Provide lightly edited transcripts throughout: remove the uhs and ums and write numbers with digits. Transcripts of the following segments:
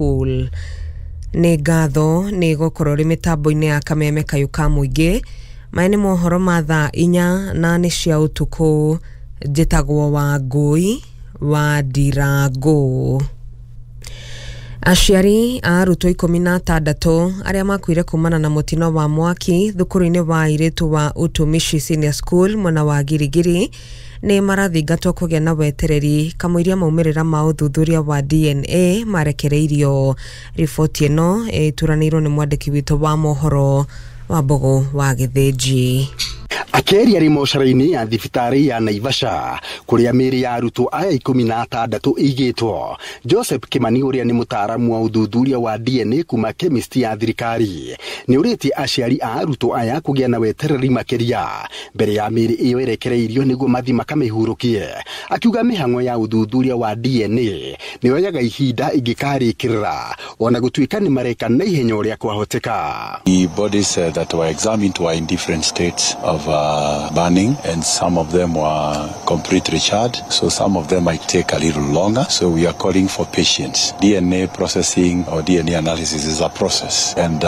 School. Nĩ ngatho nĩ gũkorwo rĩ mĩtambo-inĩ ya kameme kayũ ka mũingĩ. Maya nĩ mohoro ma thaa 4 na nĩ cia ũtukũ. Njĩtagwo Wangũi wa Ndirangũ. Aciari a arutwo 16 arĩa makuire kumana na mũtino wa mwaki thukuru-inĩ wa airĩtu wa Utumishi Senior School mwena wa Girigiri nĩ marathingatwo kũgĩa na wetereri kamũiria maumĩrĩra ma ũthuthuria wa DNA marekereirio. Riboti ĩno ĩturanĩirwo nĩ mwandĩki witũ wa mohoro wa Mbogo wa Gĩthĩnji. Akĩaria rĩ mocarĩ-inĩ ya thibitarĩ ya Naivasha kũrĩa mĩĩrĩ ya arutwo aya 16 ĩigĩtwo, Joseph Kimani ũrĩa nĩ mũtaaramu wa ũthuthuria wa DNA kuma chemist ya thirikari nĩ ũrĩtie aciari a arutwo aya kũgĩa na wetereri makĩria mbere ya mĩĩrĩ ĩyo ĩrekereirio nĩguo mathi makamĩhurũkie. Akiuga mĩhang'o ya ũthuthuria wa DNA nĩ yoyaga ihinda ĩngĩkarĩkĩrĩra ona gũtuĩka nĩ mareka na ihenya ũrĩa kwahoteka. The bodies that were examined were in different states of burning, and some of them were completely charred, so some of them might take a little longer. So we are calling for patience. DNA processing or DNA analysis is a process, and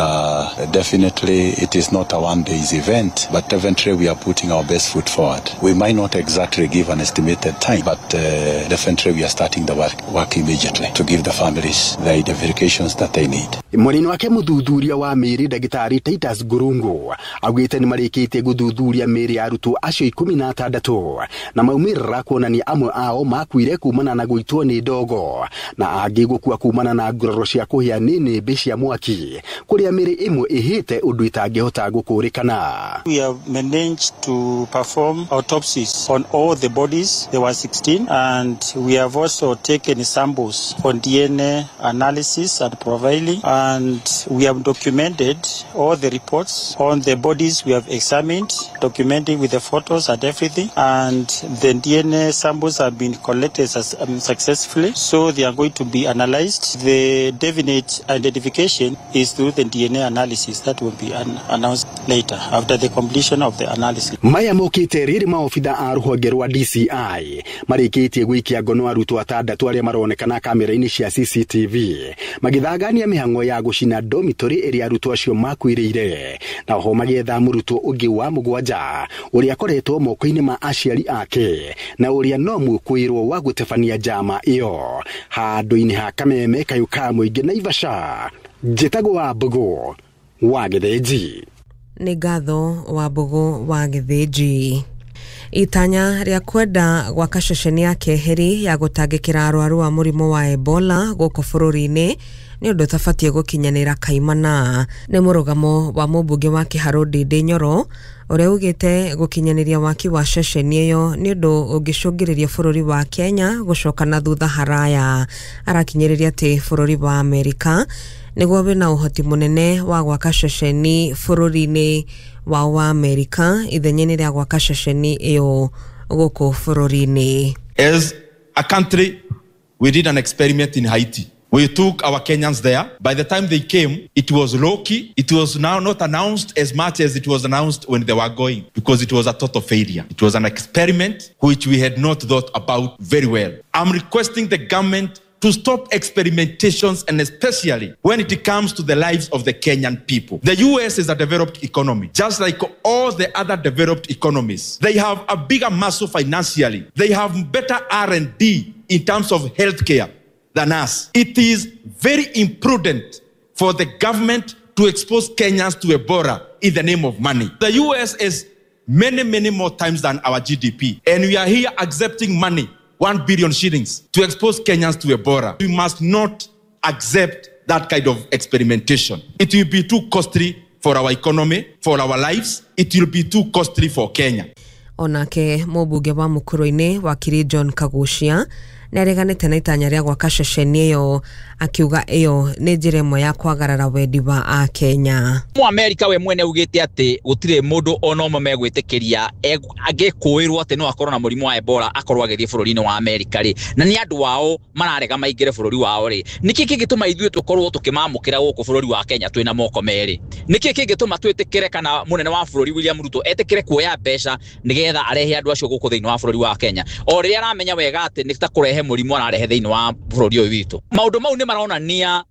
definitely it is not a one day's event, but definitely we are putting our best foot forward. We might not exactly give an estimated time, but definitely we are starting the work immediately to give the families the identifications that they need. Mwena-inĩ wake mũthuthuria wa mĩĩrĩ ndagĩtarĩ Titus Ngurungu augĩte nĩ marĩkĩtie gũthuthuria mĩĩrĩ ya arutwo acio 16 na maumĩrĩra kuonania amwe ao makuire kumana na gũitwo nĩ ndogo na angĩ gũkua kumana na nguraro cia kũhĩa nĩ nĩmbĩ cia mwaki kũrĩa mĩĩrĩ ĩmwe ĩhĩte ũndũ ĩtangĩhota gũkũrĩkana. We have managed to perform autopsies on all the bodies. There were 16, and we have also taken samples on DNA analysis and profiling, and we have documented all the reports on the bodies we have examined, documenting with the photos and everything, and the DNA samples have been collected successfully, so they are going to be analyzed. The definite identification is through the DNA analysis that will be announced later after the completion of the analysis. Maya mokĩte rĩrĩ maobitha a rũhonge rwa DCI marĩkĩtie gũikia ngono arutwo atandatũ arĩa maronekana kamera-inĩ cia CCTV magĩthangania mĩhang'o ya gũcina dormitory ĩrĩa arutwo acio makuĩrĩire, na oho magĩetha mũrutwo ũngĩ wa mũgwanja ũrĩa akoretwo moko-inĩ ma aciari ake na ũrĩa no mwĩkũĩrwo wa gũtebania njama ĩyo. Handũ-inĩ ha kameme kayũ ka mũingĩ Naivasha, njĩtagwo wa Mbogo wa Gĩthĩnji. Nĩ ngatho wa Mbogo wa Gĩthĩnji. Itanya rĩa kwenda gwaka ceceni ya keheri ya gũtangĩkĩra arwaru a mũrimũ wa Ebola gũkũ bũrũri-inĩ nĩ ũndũ ũtabatiĩ gũkinyanĩra kaimana. Nĩ mũrũgamo wa mũmbunge wa Kĩharũ Ndindi Nyoro ũrĩa ugĩte gũkinyanĩria waki wa ceceni ĩyo nĩ ũndũ ũngĩcũngĩrĩria bũrũri wa Kenya gũcoka na thutha haraya. Arakinyĩrĩria atĩ bũrũri wa Amerika nĩguo wĩna ũhoti mũnene wa gwaka ceceni bũrũri-inĩ wao wa Amerika ithenya-inĩ rĩa gwaka ceceni ĩyo gũkũ bũrũri-inĩ. As a country, we did an experiment in Haiti. We took our Kenyans there. By the time they came, it was low-key. It was now not announced as much as it was announced when they were going, because it was a total failure. It was an experiment which we had not thought about very well. I'm requesting the government to stop experimentations, and especially when it comes to the lives of the Kenyan people. The US is a developed economy, just like all the other developed economies. They have a bigger muscle financially. They have better R&D in terms of healthcare than us. It is very imprudent for the government to expose Kenyans to Ebola in the name of money. The US is many, many more times than our GDP. And we are here accepting money, 1 billion shillings, to expose Kenyans to Ebola. We must not accept that kind of experimentation. It will be too costly for our economy, for our lives. It will be too costly for Kenya. Onake mũmbunge wa Mũkũrũ-inĩ wakiri John Kagucia nĩareganĩte na itanya rĩa gwaka ceceni ĩyo, akiuga ĩyo nĩ njĩra ĩmwe ya kwagarara wendi wa Akenya. Mũamerika we mwene augĩte atĩ gũtirĩ mũndũ ona ũmwe megwĩtĩkĩria angĩkũĩrwo atĩ no akorwo na mũrimũ wa Ebola akorwo agĩthiĩ bũrũri-inĩ wa Amerika rĩ, na nĩ andũ ao mararega maingĩre bũrũri wao rĩ, nĩkĩ kĩngĩtũma ithuĩ tũkorwo tũkĩmamũkĩra gũkũ bũrũri wa Kenya twĩna moko merĩ? Nĩkĩ kĩngĩtũma twĩtĩkĩre kana mũnene wa bũrũri William Ruto etĩkĩre kuoya mbeca nĩgetha arehe andũ acio gũkũ thĩinĩ wa bũrũri wa Kenya, o rĩrĩa aramenya wega atĩ nĩ ta kũrehe mũrimũ ararehe thĩinĩ wa bũrũri ũyũ witũ? Maũndũ mau nĩ maronania